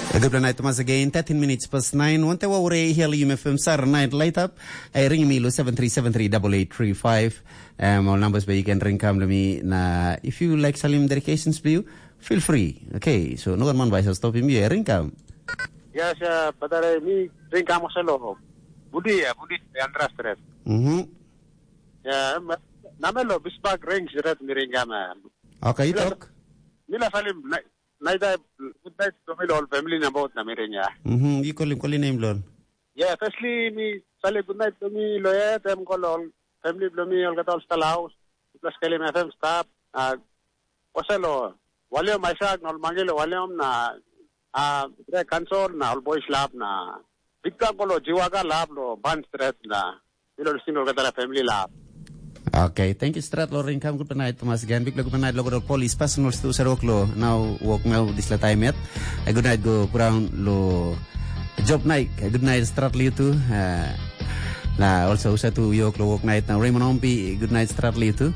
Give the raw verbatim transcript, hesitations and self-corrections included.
Good night, Thomas, again. Thirteen minutes past nine. Wante wa ure hia la yum F M sar night light up. Ai ring mi lo seven three seven three double eight three five. Um, all numbers where you can ring come to me. Na if you like salim dedications for you, feel free. Okay, so no one man by stop him here. Ring come. Yes, uh, but I me ring come also lo. Budi ya, Budi ya, Andra Stress. Mm-hmm. Ya, namelo Bismarck ring siret mi ring come. Okay, talk. Mila salim, night, good night to me all family na both na miring ya. Mhm, you call him, call him name lon. Yeah, firstly me salim good night to me lo ya, them call all family blo me all gat all stal house. Plus kelim F M staff. Ah, oselo, waliom Isaac na all mangilo waliom na ah, Greg Kansol na all boys lap na big bang lo Jiwaga lap lo ban stret na ilo lisin lo gat family lap. Okay, thank you strat lo ring kam good night Thomas again. Big good night lo good police personal stu sarok lo now walk now this la time yet. A good night go ground lo job night. A good night strat lo you too. Uh, na also usa tu yok lo walk night now Raymond Ompi good night strat lo you too.